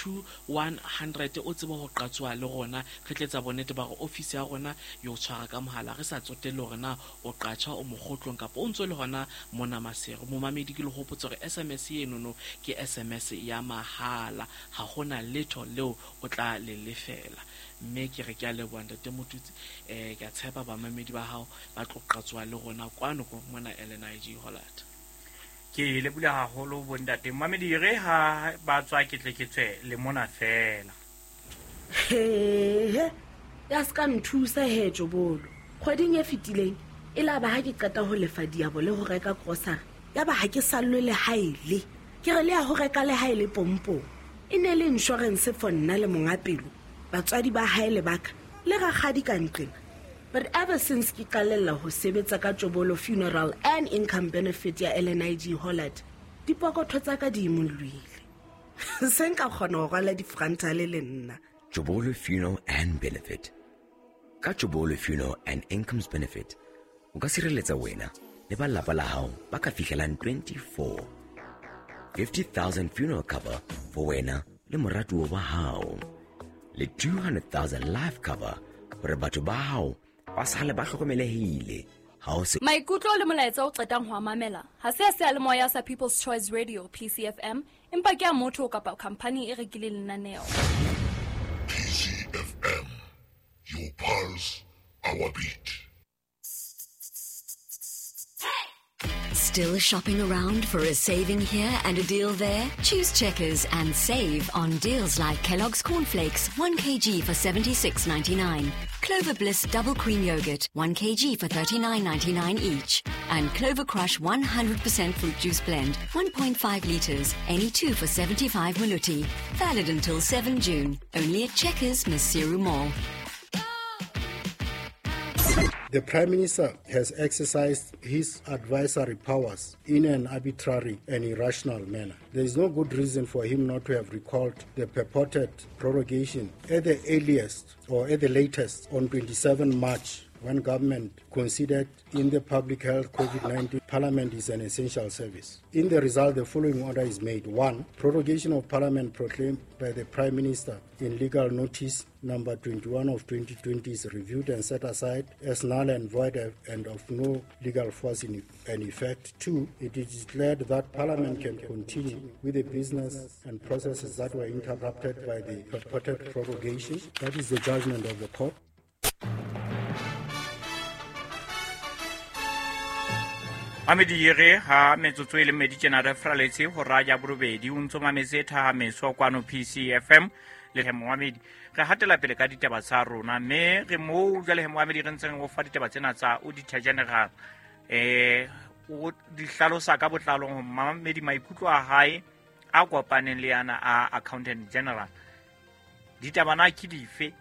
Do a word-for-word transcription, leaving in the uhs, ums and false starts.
two one hundred o tsebe ho qatsoa le rona. Re tletsa bonnete ba hore ofisi ya rona e o tshwara ka mohala, re sa tsotelle hore na o qatjha o mokgotlong kapa o ntso le hona mona Maseru. Momamedi, ke le hopotse hore S M S enono ke S M S ya mahala, ha hona letho leo o tla le lefela. Mme ke re ke a leboha ntate Motutsi, eh ke a tshepa bamamedi ba hao ba tlo qatsoa le rona kwano ko mona L N I G Hollard. Ke leboha haholo bontate. Mamedi re ha ba tswa ke tle ke tswe le mona fela. He, ya ska nthusa he Jobolo. Kgweding e fetileng e la ba ha ke qeta ho lefa diabo le ho reka grocery, ya ba ha ke sallwe le haele. Ke re le ya ho reka le haele pompong. E ne le insurance for nna le monga pelo, batswadi ba hae le baka le rakgadi ka nqena. But ever since ke qalella ho sebetsa ka Jobolo Funeral and Income Benefit ya L N I G Hollard, dipokotho tsa ka di imollohile. Se nka kgona ho rwala difrantale le nna. Jobolo Funeral and Benefit. Ka Jobolo Funeral and Incomes Benefit, o ka sireletsa wena le ba lapa la hao ba ka fihlelang twenty-four. fifty thousand funeral cover for wena le moratuwa wa hao. Le two hundred thousand life cover hore batho ba hao ba sale ba hlokomelehile. Ha o se Maikutlo le molaetsa o qetang ho a mamela ha se a seyalemoya sa People's Choice Radio P C F M, empa ke a motho kapa company e rekileng lenaneo. P C F M, your pulse, our beat. Still shopping around for a saving here and a deal there? Choose Checkers and save on deals like Kellogg's Cornflakes, one kilogram for seventy-six ninety-nine, Clover Bliss Double Cream Yogurt, one kilogram for thirty-nine ninety-nine each, and Clover Crush one hundred percent Fruit Juice Blend, one point five litres, any two for seventy-five maluti. Valid until seven June, only at Checkers, Maseru Mall. The Prime Minister has exercised his advisory powers in an arbitrary and irrational manner. There is no good reason for him not to have recalled the purported prorogation at the earliest or at the latest on twenty-seventh March, when government considered in the public health COVID nineteen Parliament is an essential service. In the result, the following order is made. One, prorogation of Parliament proclaimed by the Prime Minister in legal notice number twenty-one of twenty twenty is reviewed and set aside as null and void and of no legal force in and effect. Two, it is declared that Parliament can continue with the business and processes that were interrupted by the purported prorogation. That is the judgment of the court. Mamedi re ha metsotso e le mmedi tjena re fraletse ho ra ya borobedi o ntso mametse thahameso kwano P C F M le he Mohamedi. Re hatela pele ka ditaba tsa rona mme re moo jwale he Mohamedi re ntseng ho fa ditaba tsena tsa Auditor General, eh o di hlalosa ka botlalo ho Mohamedi maikutlo a hae a kopaneng le yana a Accountant General. Ditaba na ke dife